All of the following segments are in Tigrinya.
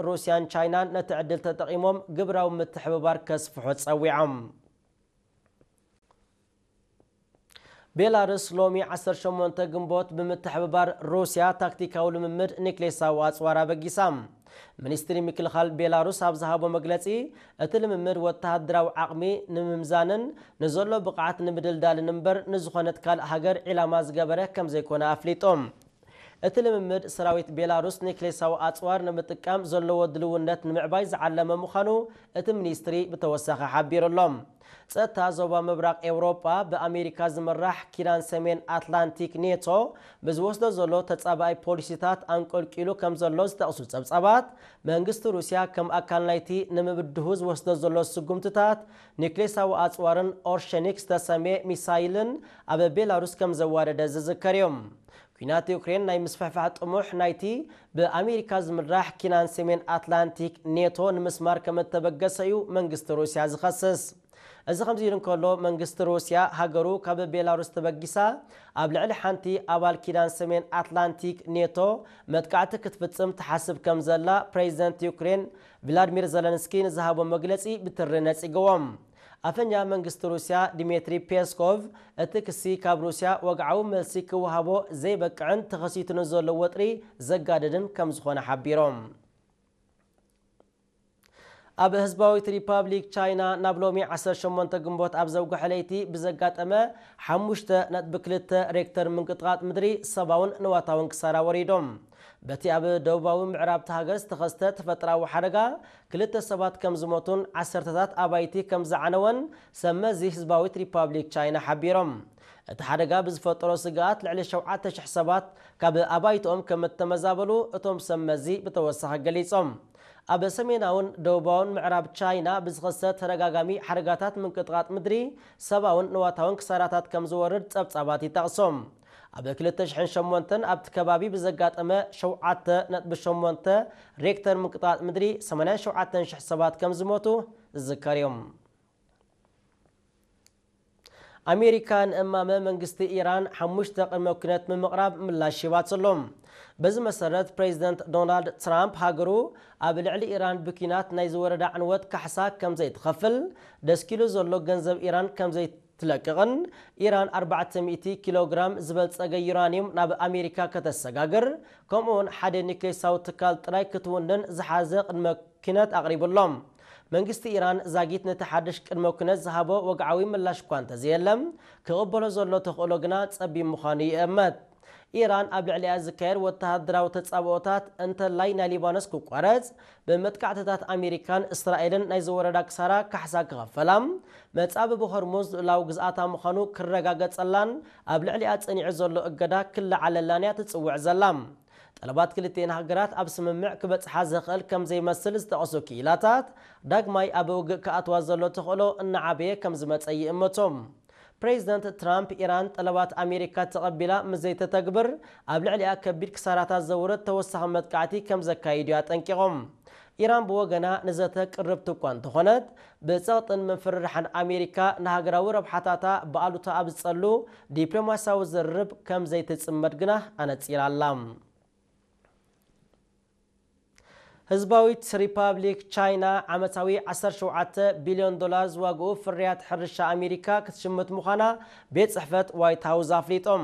ሩስያን ቻይናን ነቲ ዕድል ተጠቒሞም ግብራዊ ምትሕብባር ከስፍሑ ጸዊዖም። ቤላሩስ ሎሚ ዓሰርተ ሸሞንተ ግንቦት ብምትሕብባር ሩስያ ታክቲካዊ ልምምድ ኒክሌሳዊ ኣጽዋር ኣበጊሳ። ሚኒስትሪ ምክልኻል ቤላሩስ ኣብ ዝሃቦ መግለጺ፣ እቲ ልምምድ ወተሃደራዊ ዓቕሚ ንምምዛንን ንዘሎ ብቕዓት ንምድልዳልን እምበር ንዝኾነት ካልእ ሃገር ዒላማ ዝገበረ ከም ዘይኮነ ኣፍሊጡ። እቲ ልምምድ ሰራዊት ቤላሩስ ኒክሌሳዊ ኣጽዋር ንምጥቃም ዘለዎ ድልውነት ንምዕባይ ዝዓለመ ምዃኑ እቲ ሚኒስትሪ ብተወሳኺ ሓቢሩ ኣሎ። ጸጥታ ዞባ ምብራቕ ኤውሮጳ ብኣሜሪካ ዝምራሕ ኪዳን ሰሜን ኣትላንቲክ ኔቶ ብዝወስዶ ዘሎ ተጻባኣይ ፖሊሲታት ኣንቆልቂሉ ከም ዘሎ ዝጠቕሱ ጸብጻባት፣ መንግስቲ ሩስያ ከም ኣካል ናይቲ ንምብድሁ ዝወስዶ ዘሎ ስጉምትታት ኒክሌሳዊ ኣጽዋርን ኦርሸኒክ ዝተሰምየ ሚሳይልን ኣብ ቤላሩስ ከም ዘዋደደ ዝዝከር እዩ። ኲናት ዩክሬን ናይ ምስፍሕፋሕ ጥሙሕ ናይቲ ብኣሜሪካ ዝምራሕ ኪናን ሰሜን ኣትላንቲክ ኔቶ ንምስማር ከም እተበገሰ እዩ መንግስቲ ሩስያ ዝኸስስ። እዚ ከምዚ ኢሉ እንከሎ፣ መንግስቲ ሩስያ ሃገሩ ካብ ቤላሩስ ተበጊሳ ኣብ ልዕሊ ሓንቲ ኣባል ኪዳን ሰሜን ኣትላንቲክ ኔቶ መጥቃዕቲ ክትፍጽም ትሓስብ ከም ዘላ ፕሬዚደንት ዩክሬን ቭላድሚር ዘለንስኪ ንዝሃቦ መግለጺ ብትሪ ነጺግዎም። ኣፈኛ መንግስቲ ሩስያ ዲሜትሪ ፔስኮቭ፣ እቲ ክሲ ካብ ሩስያ ወግዓዊ መልሲ ክወሃቦ ዘይበቅዕን ተኸሲቱ ንዘሎ ወጥሪ ዘጋድድን ከም ዝኾነ ሓቢሮም። ኣብ ህዝባዊት ሪፓብሊክ ቻይና ናብ ሎሚ ዓሰርተ ሸሞንተ ግንቦት ኣብ ዘውግሐ ለይቲ ብዘጋጠመ ሓሙሽተ ነጥቢ ክልተ ሬክተር ምንቅጥቓጥ ምድሪ ሰብኣውን ንዋታውን ክሳራ ወሪዶም። በቲ ኣብ ደቡባዊ ምዕራብ እታ ሃገር ዝተኸስተ ተፈጥራዊ ሓደጋ ክልተ ሰባት ከም ዝሞቱን ዓሰርተታት ኣባይቲ ከም ዝዓነወን ሰብ መዚ ህዝባዊት ሪፓብሊክ ቻይና ሓቢሮም። እቲ ሓደጋ ብዝፈጠሮ ስግኣት ልዕሊ ሸውዓተ ሽሕ ሰባት ካብ ኣባይትኦም ከም እተመዛበሉ እቶም ሰብ መዚ ብተወሳኺ ገሊጾም። ኣብ ሰሜናውን ደቡባውን ምዕራብ ቻይና ብዝኸሰት ተደጋጋሚ ሓደጋታት ምንቅጥቓጥ ምድሪ ሰብኣውን ንዋታውን ክሳራታት ከም ዝወርድ ጸብጻባት ይጠቕሶም። ኣብ ክልተ ሽሕን ሸሞንተን ኣብቲ ከባቢ ብዘጋጠመ ሸውዓተ ነጥቢ ሸሞንተ ሬክተር ምንቅጥቓጥ ምድሪ ሰማንያን ሸውዓተን ሽሕ ሰባት ከም ዝሞቱ ዝዝከር እዮም። ኣሜሪካ ንእማመ መንግስቲ ኢራን ሓሙሽተ ቅድመ ኩነት ብምቕራብ ምላሽ ሂባትሎም። በዚ መሰረት ፕሬዚደንት ዶናልድ ትራምፕ ሃገሩ ኣብ ልዕሊ ኢራን ብኲናት ናይ ዝወረዳ ዕንወት ካሕሳ ከም ዘይትኸፍል፣ ደስኪሉ ዘሎ ገንዘብ ኢራን ከም ዘይትለቅቕን ኢራን ኣርባዕተ ሚእቲ ኪሎ ግራም ዝበልጸገ ዩራኒየም ናብ ኣሜሪካ ከተሰጋግር፣ ከምኡውን ሓደ ኒክሌሳዊ ትካል ጥራይ ክትውንን ዝሓዘ ቅድመ ኩነት ኣቕሪቡሎም። መንግስቲ ኢራን ዛጊት ነቲ ሓድሽ ቅድመ ኩነት ዝሃቦ ወግዓዊ ምላሽ እኳ እንተዘየለ፣ ክቕበሎ ዘሎ ተኽእሎ ግና ጸቢብ ምዃኑ ይእመት። ኢራን ኣብ ልዕሊኣ ዝካየድ ወተሃደራዊ ተጻብኦታት እንተላይ ናይ ሊባኖስ ክቋረጽ፣ ብመጥቃዕትታት ኣሜሪካን እስራኤልን ናይ ዝወረዳ ክሳራ ካሕሳ ክኸፈላ፣ መጻብቢ ሆርሙዝ ልኡላዊ ግዝኣታ ምዃኑ ክረጋገጸላን ኣብ ልዕሊኣ ጸኒዑ ዘሎ እገዳ ክለዓለላን እያ ትጽውዕ ዘላ። ጠለባት ክልቲኤን ሃገራት ኣብ ስምምዕ ክበጽሓ ዘኽእል ከም ዘይመስል ዝጠቐሱ ክኢላታት፣ ዳግማይ ኣብ ውግእ ክኣትዋ ዘሎ ተኽእሎ እናዓበየ ከም ዝመጸ ይእምቱ። ፕሬዚደንት ትራምፕ፣ ኢራን ጠለባት ኣሜሪካ ተቐቢላ ምስ ዘይተተግብር ኣብ ልዕሊኣ ከቢድ ክሳራታት ዘውርድ ተወሳኺ መጥቃዕቲ ከም ዘካይድ እዩ ኣጠንቂቖም። ኢራን ብወገና ንዘተ ቅርብቲ እኳ እንተኾነት፣ ብጸቕጥን ምፍርራሕን ኣሜሪካ ንሃገራዊ ረብሓታታ ብኣሉታ ኣብ ዝጸሉ ዲፕሎማስያዊ ዝርርብ ከም ዘይትጽመድ ግና ኣነጺራ ኣላ። ህዝባዊት ሪፓብሊክ ቻይና ዓመታዊ ዓሰርተ ሸውዓተ ቢልዮን ዶላር ዝዋግኡ ፍርያት ሕርሻ ኣሜሪካ ክትሽምት ምዃና ቤት ጽሕፈት ዋይት ሃውስ ኣፍሊጦም።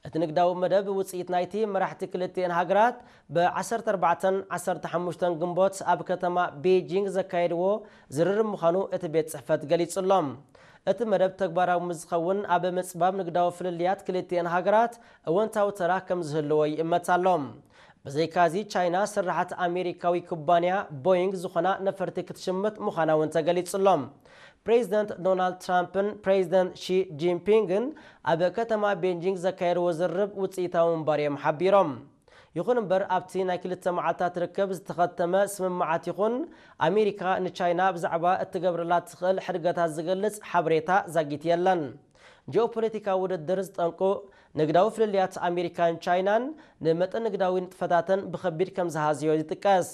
እቲ ንግዳዊ መደብ ውጽኢት ናይቲ መራሕቲ ክልቲኤን ሃገራት ብ ዓሰርተ ኣርባዕተን ዓሰርተ ሓሙሽተን ግንቦት ኣብ ከተማ ቤጂንግ ዘካየድዎ ዝርርብ ምዃኑ እቲ ቤት ጽሕፈት ገሊጹ ኣሎ። እቲ መደብ ተግባራዊ ምስ ዝኸውን ኣብ ምጽባብ ንግዳዊ ፍልልያት ክልቲኤን ሃገራት እወንታዊ ተራ ከም ዝህልዎ ይእመት ኣሎ። ብዘይካዚ ቻይና ስራሓት ኣሜሪካዊ ኩባንያ ቦይንግ ዝኾና ነፈርቲ ክትሽምት ምዃና እውን ተገሊጹ ኣሎ። ፕሬዚደንት ዶናልድ ትራምፕን ፕሬዚደንት ሺ ጂንፒንግን ኣብ ከተማ ቤጂንግ ዘካየድዎ ዝርርብ ውፅኢታዊ ምንባር እዮም ሓቢሮም። ይኹን እምበር ኣብቲ ናይ ክልተ መዓልታት ርክብ ዝተኸተመ ስምምዓት ይኹን ኣሜሪካ ንቻይና ብዛዕባ እትገብረላ ትኽእል ሕድገታት ዝገልጽ ሓበሬታ ዛጊት የለን። ጂኦፖለቲካዊ ውድድር ዝጠንቁ ንግዳዊ ፍልልያት ኣሜሪካን ቻይናን ንመጠን ንግዳዊ ንጥፈታተን ብኸቢድ ከም ዝሃዝዮ ይጥቀስ።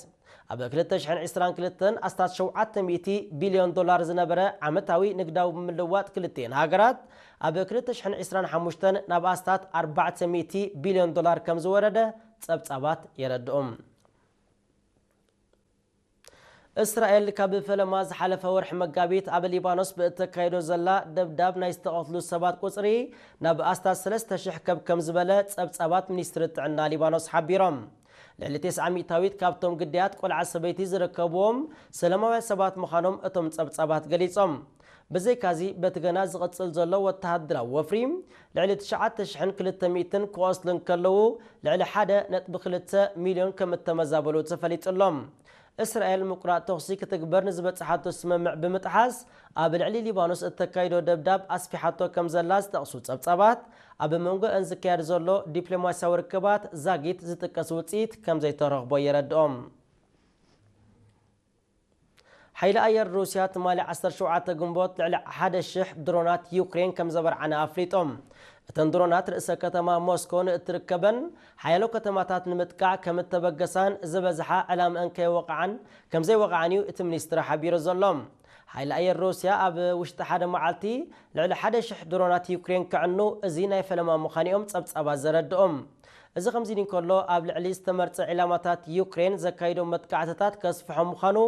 ኣብ ክልተ ሽሕን ዕስራን ክልተን ኣስታት ሸውዓተ ሚእቲ ቢልዮን ዶላር ዝነበረ ዓመታዊ ንግዳዊ ምልዋጥ ክልቲኤን ሃገራት ኣብ ክልተ ሽሕን ዕስራን ሓሙሽተን ናብ ኣስታት ኣርባዕተ ሚእቲ ቢልዮን ዶላር ከም ዝወረደ ጸብጻባት የረድኡ። እስራኤል ካብ ፈለማ ዝሓለፈ ወርሒ መጋቢት ኣብ ሊባኖስ ብእተካይዶ ዘላ ደብዳብ ናይ ዝተቐትሉ ሰባት ቁጽሪ ናብ ኣስታት ሰለስተ ሽሕ ከብ ከም ዝበለ ጸብጻባት ሚኒስትሪ ጥዕና ሊባኖስ ሓቢሮም። ልዕሊ ተስዓ ሚእታዊት ካብቶም ግዳያት ቆልዓ ሰበይቲ ዝርከብዎም ሰላማውያን ሰባት ምዃኖም እቶም ጸብጻባት ገሊጾም። ብዘይካዚ በቲ ገና ዝቕጽል ዘሎ ወተሃደራዊ ወፍሪ ልዕሊ ትሽዓተ ሽሕን ክልተ ሚእትን ክቖስሉ እንከለዉ ልዕሊ ሓደ ነጥቢ ክልተ ሚልዮን ከም እተመዛበሉ ተፈሊጡ ኣሎ። እስራኤል ምቁራጽ ተኹሲ ክትግበር ንዝበጽሓቶ ስምምዕ ብምጥሓስ ኣብ ልዕሊ ሊባኖስ እተካይዶ ደብዳብ ኣስፊሓቶ ከም ዘላ ዝጠቕሱ ጸብጻባት ኣብ መንጎ እን ዝካየድ ዘሎ ዲፕሎማስያዊ ርክባት ዛጊት ዝጥቀስ ውጽኢት ከም ዘይተረኽቦ የረድኦም። ሓይሊ ኣየር ሩስያ ትማሊ ዓሰርተ ሸውዓተ ግንቦት ልዕሊ ሓደ ሽሕ ድሮናት ዩክሬን ከም ዘበርዓነ ኣፍሊጦም። እተን ድሮናት ርእሰ ከተማ ሞስኮ ንእትርከበን ሓያሎ ከተማታት ንምጥቃዕ ከም እተበገሳን ዝበዝሓ ዕላምአን ከይወቕዓን ከም ዘይወቕዓን እዩ እቲ ሚኒስትሪ ሓቢሩ ዘሎ። ሓይሊ ኣየር ሩስያ ኣብ ውሽጢ ሓደ መዓልቲ ልዕሊ ሓደ ሽሕ ድሮናት ዩክሬን ከዕኑ እዚ ናይ ፈለማ ምዃኑ እዮም ጸብጻባት ዘረድኦም። እዚ ከምዚ ኢሉ እንከሎ ኣብ ልዕሊ ዝተመርጸ ዒላማታት ዩክሬን ዘካይዶ መጥቃዕትታት ከስፍሖ ምዃኑ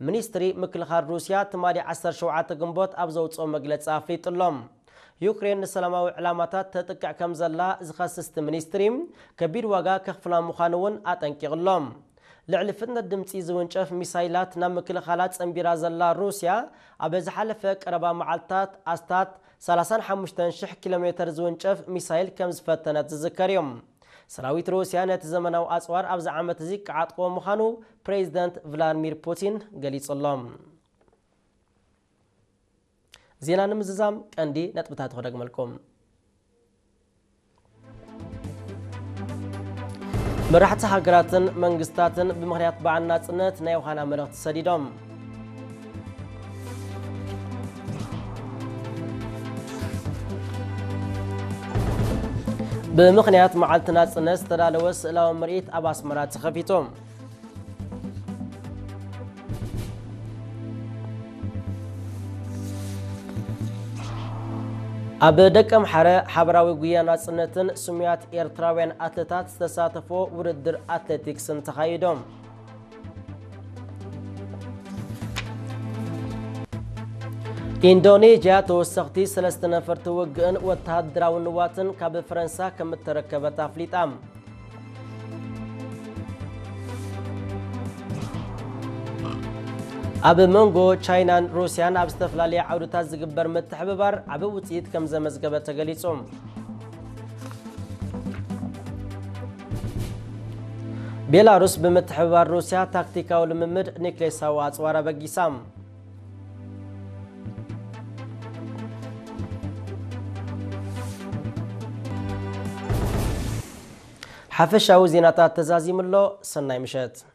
ሚኒስትሪ ምክልኻል ሩስያ ትማሊ ዓሰርተ ሸውዓተ ግንቦት ኣብ ዘውፅኦ መግለጺ ኣፍሊጡ ኣሎ። ዩክሬን ንሰላማዊ ዕላማታት ተጥቅዕ ከም ዘላ ዝኸስስ እቲ ሚኒስትሪ ከቢድ ዋጋ ከኽፍላ ምዃኑ እውን ኣጠንቂቑ ኣሎ። ልዕሊ ፍጥነት ድምፂ ዝውንጨፍ ሚሳይላት ናብ ምክልኻላ ጸንቢራ ዘላ ሩስያ ኣብ ዝሓለፈ ቀረባ መዓልትታት ኣስታት ሰላሳን ሓሙሽተን ሽሕ ኪሎ ሜተር ዝውንጨፍ ሚሳይል ከም ዝፈተነት ዝዝከር እዩ። ሰራዊት ሩስያ ነቲ ዘመናዊ ኣጽዋር ኣብዚ ዓመት እዚ ክዓጥቆ ምዃኑ ፕሬዚደንት ቭላድሚር ፑቲን ገሊጹ ኣሎ። ዜና ንምዝዛም ቀንዲ ነጥብታት ክደግመልኩም። መራሕቲ ሃገራትን መንግስታትን ብምኽንያት በዓል ናጽነት ናይ ዮሃና መልእኽቲ ሰዲዶም። ብምኽንያት መዓልቲ ናጽነት ዝተዳለወ ስእላዊ ምርኢት ኣብ ኣስመራ ተኸፊቱ። ኣብ ደቀምሓረ ሓበራዊ ጉያ ናጽነትን ስሙያት ኤርትራውያን ኣትለታት ዝተሳተፎ ውድድር ኣትሌቲክስን ተኻይዶም። ኢንዶኔዥያ ተወሰኽቲ ሰለስተ ነፈርቲ ውግእን ወተሃደራዊ ንዋትን ካብ ፈረንሳ ከም እተረከበት ኣፍሊጣ። ኣብ መንጎ ቻይናን ሩስያን ኣብ ዝተፈላለየ ዓውድታት ዝግበር ምትሕብባር ዓቢ ውጽኢት ከም ዘመዝገበ ተገሊጹ። ቤላሩስ ብምትሕብባር ሩስያ ታክቲካዊ ልምምድ ኒክሌሳዊ ኣጽዋር ኣበጊሳ። ሓፈሻዊ ዜናታት ተዛዚሙ ኣሎ። ሰናይ ምሸት።